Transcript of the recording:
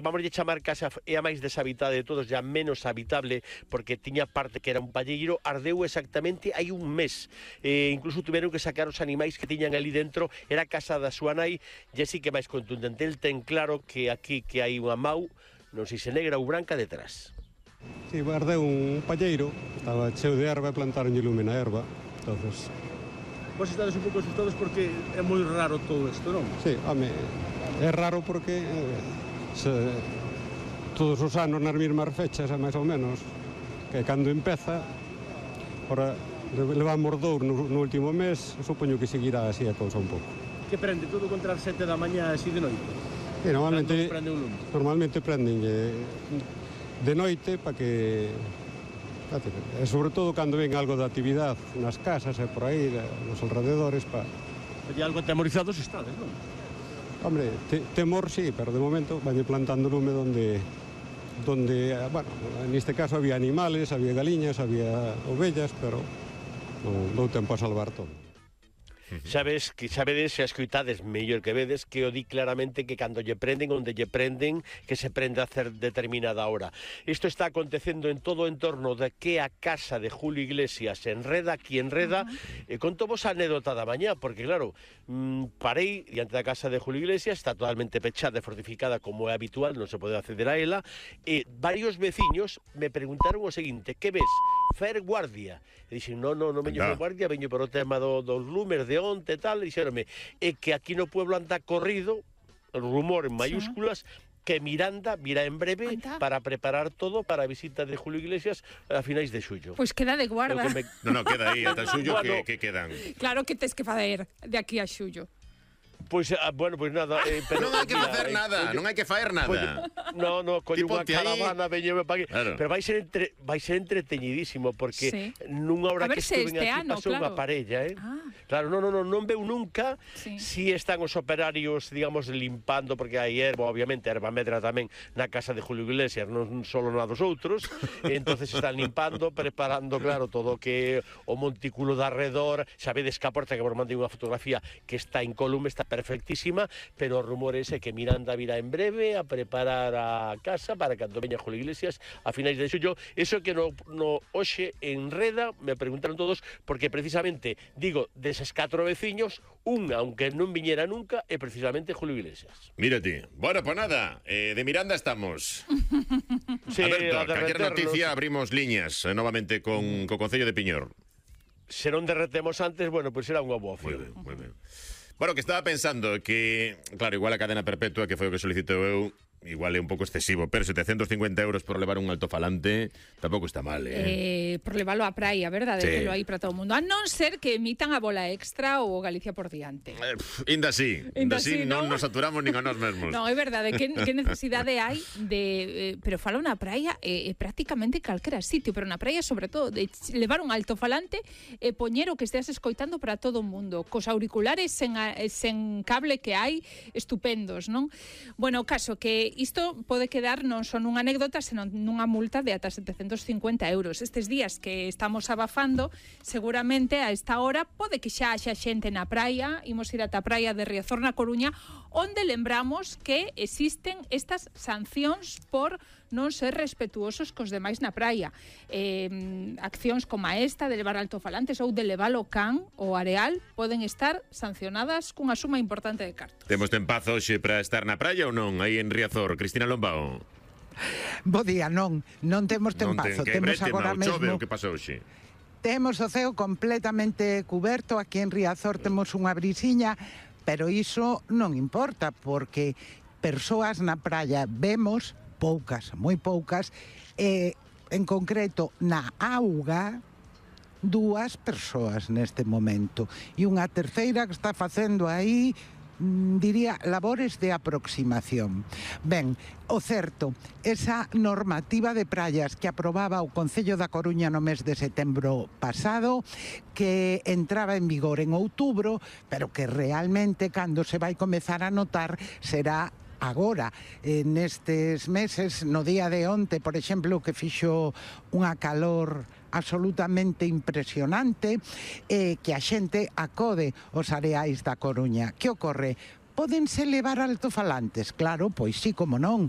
vamos a chamar casa é a máis deshabitada de todos, já menos habitable, porque tiña parte que era un palleiro, ardeu exactamente hai un mes. Incluso tiveron que sacar os animais que tiñan ali dentro, era a casa da súa nai, e así que máis contundente. El ten claro que aquí que hai unha mau, non sei se negra ou branca detrás. Sí, ardeu un palleiro, estaba cheo de erva e plantaronlle lume na erva, entonces... Vos estades un pouco asustados porque é moi raro todo isto, non? Sí, home, é raro porque todos os anos nas mesmas fechas, máis ou menos, que cando empeza, ora levamos 2 no último mes, supoño que seguirá así a cousa un pouco. Que prende todo contra as 7 da mañá así de noite? Sí, normalmente prenden de noite para que... E sobre todo cando ven algo de actividade nas casas e por aí, nos alrededores, para... E algo atemorizados estades, non? Hombre, temor sí, pero de momento van plantando lume donde, bueno, neste caso había animales, había galiñas, había ovellas, pero non dou tempo a salvar todo. Sabedes, se escoitades mellor que vedes, que o di claramente que cando lle prenden, onde lle prenden, que se prende a hacer determinada hora. Isto está acontecendo en todo o entorno de que a casa de Julio Iglesias enreda, aquí enreda, e conto vos a anécdota da mañá, porque claro, parei diante da casa de Julio Iglesias, está totalmente pechada e fortificada como é habitual, non se pode acceder a ela, e varios veciños me preguntaron o seguinte: que ves? Fer guardia? E dixen, non veño fer guardia, veño por o tema dos lumes de onte e tal, e dixeronme, é que aquí no pueblo anda corrido, el rumor en mayúsculas, que Miranda virá en breve para preparar todo para a visita de Julio Iglesias a finais de xullo. Pois queda de guarda. No, queda aí, ata xullo que quedan. Claro que tes que fazer de aquí a xullo. Pois, bueno, pois nada, pero non hai que facer nada, non hai que faer nada. Colle unha caravana, veñeme para aquí. Claro. Pero vai ser entreteñidísimo, porque nunha hora que estuven aquí pasou unha parella, Claro, non veu nunca si están os operarios, digamos, limpando, porque hai erva, obviamente, erva medra tamén na casa de Julio Iglesias, non solo na dos outros, e entonces están limpando, preparando, claro, todo o que o montículo de arredor. Sabedes que a porta, que vos mandei unha fotografía que está incólume, está perfectísima, pero o rumor ese que Miranda virá en breve a preparar a casa para cando veña Julio Iglesias a finais de xullo. Eso que no hoxe enreda, me preguntaron todos, porque precisamente, digo, deses 4 veciños, aunque non viñera nunca, é precisamente Julio Iglesias. Mira ti. Bueno, pues nada, de Miranda estamos. Sí, Alberto, calquer noticia abrimos liñas novamente con o Concello de Piñor. Se non derretemos antes, bueno, pues será unha boa opción. Moi ben. Bueno, que estaba pensando que, claro, igual a cadena perpetua, que foi o que solicitou eu, igual é un pouco excesivo, pero 750 euros por levar un altofalante tampouco está mal, por levarlo á praia, verdade? Sí. Que lo hai para todo o mundo. A non ser que emitan a bola extra ou Galicia por diante. Inda sí, non nos saturamos nin a nós mesmos. Non, é verdade, que necesidade hai de... pero falo na praia, prácticamente calquera sitio, pero na praia, sobre todo, de levar un altofalante e poñer o que esteas escoitando para todo o mundo, cos auriculares sen cable que hai, estupendos, non? Bueno, o caso que isto pode quedar non só nunha anécdota, senón nunha multa de ata 750 euros. Estes días que estamos abafando, seguramente a esta hora pode que xa haxa xente na praia. Imos ir ata a praia de Riazor na Coruña, onde lembramos que existen estas sancións por non ser respetuosos cos demais na praia. Accións como esta de levar altofalantes ou de levar o can ou areal poden estar sancionadas cunha suma importante de cartos. Temos tempazo hoxe para estar na praia ou non? Aí en Riazor, Cristina Lombao. Bo día, non temos tempazo, temos agora mesmo. Chove o que pasou hoxe? Temos o ceo completamente cuberto, aquí en Riazor temos unha brisiña, pero iso non importa, porque persoas na praia vemos poucas, moi poucas, en concreto na auga 2 persoas neste momento, e unha terceira que está facendo aí, diría, labores de aproximación. Ben, o certo, esa normativa de praias que aprobaba o Concello da Coruña no mes de setembro pasado, que entraba en vigor en outubro, pero que realmente cando se vai comezar a notar será agora, nestes meses, no día de onte, por exemplo, que fixo unha calor absolutamente impresionante, que a xente acode aos areais da Coruña. Que ocorre? Pódense levar altofalantes? Claro, pois sí, como non.